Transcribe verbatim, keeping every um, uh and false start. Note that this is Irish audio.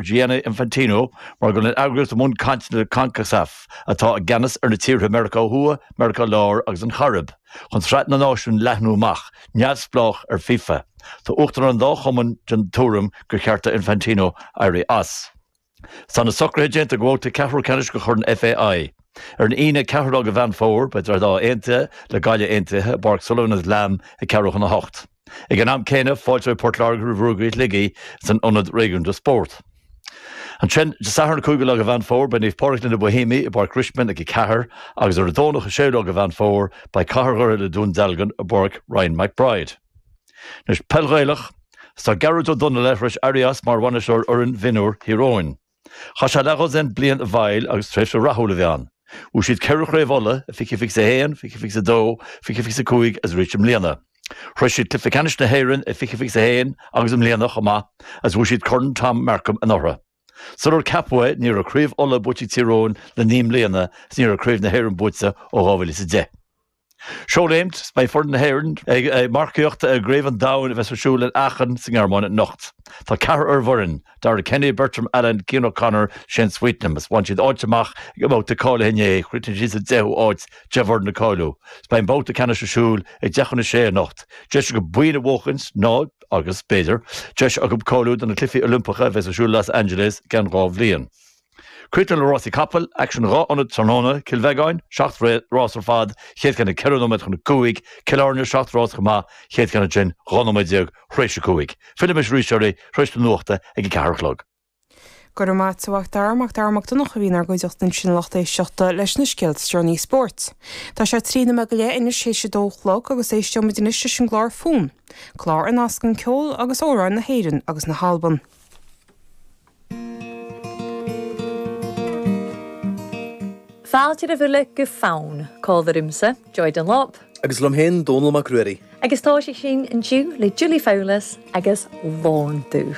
ar Gianni Infantino mar go bhfuil an eagraíocht i mbun cainteanna le Concacaf, atá i gceannas ar na tíortha Meiriceá Thuaidh, Meiriceá Láir agus an Chairib, chun Sraith na Náisiún a leathnú amach, neamhspleách ar FIFA. Tá uachtaráin an dá chumann den tuairim gur cheart do Infantino éirí as. Tá na socruithe déanta do bhabhta ceathrú ceannais de Chorn FAI. Ar an Aoine ceathrú lá de Mheán Fómhair, beidh Droichead Átha Aontaithe le Gaillimh Aontaithe i bPáirc Sullivan agus Lamb ag ceathrú chun a hocht. Ag an am céanna, fáilteoidh Port Láirge roimh Ruagairí Shligigh san Ionad Réigiúnda Spóirt. Ansin, Dé Sathairn an cúigiú lá de Mheán Fómhair, beidh Naomh Pádraig le na Boihéamaigh i bPáirc Richmond ag a ceathair agus ar an Domhnach an séú lá de Mheán Fómhair, beidh Cathair Dhoire le Dún Dealgan i bPáirc Ryan McBride. Anois, peil Ghaelach, 's tá Gearóid Ó Donnaile tar éis éirí as mar bhainisteoir fhoireann mhionúir Thír Eoghain. Chaith sé leathdhosaen bliain i bhfeighil agus tréimhse rathúil a bhí ann. Bhuaigh siad ceithre chraobh Uladh, i fiche fiche a haon, fiche fiche a dó, fiche fiche a cúig agus arís i mbliana. Shroich siad cluiche ceannais na hÉireann i fiche fiche a haon agus i mbliana chomh maith agus bhuaigh siad Corn Tom Markham anuraidh. Sular ceapadh é ní raibh craobh Uladh buaite ag Tír Eoghain le naoi mbliana is ní raibh craobh na hÉireann buaite ó dhá mhíle is a deich. Seoléimt, Beidh foireann na hÉireann ag marcaíocht i gCraobh an Domhain a bheas ar siúl in Aachen sa nGearmáin anocht. Tá ceathrar ar an bhfoireann, Darragh Kenny, Bertram Allen, Cian O'Connor, Shane Sweetnam, is bhain siad áit amach ag an mbabhta cáilithe inné, chríochnaigh siad sa deichiú háit, deich bhfoireann ag cáiliú. Is beidh an babhta ceannais ar siúl ag deich chun a sé anocht. Deis acu boinn a bhuachaint nó, agus b'fhéidir, deis acu cáiliú do na Cluichí Oilimpeacha a bheas ar siúl i Los Angeles i gceann dhá bhliain. Críochnú le rásaí capall, aicsean dhá ionad tráthnóna, Cill Bheagáin, seacht rás ar fad, chéad cheann ag ceithre nóiméad chun a cúig, Cill Airne, seacht rás chomh maith, chéad cheann ansin dhá nóiméad déag thréis a cúig. Fillfidh mise arís oraibh thréis na nuachta ag a ceathair a chlog. Go raibh maith agat a Mhac Dara, Mac Dara Mac Donncha a bhí inár gcuideachta ansin a lucht éisteachta leis na scéalta is deireanaí spóirt. Tá sé trí nóiméad go leith anois théis a dó a chlog agus éisteoimid anois leis an gclár Fonn, clár a nascann ceol agus amhráin na hÉireann agus na hAlban. Fáilte roimh uile go Fonn, Comhar liomsa, Joy Dunlop. Agus liom féin, Dónall Mac Ruairí. Agus tá sé sin inniu le Julie Fowlis agus Lon Dubh.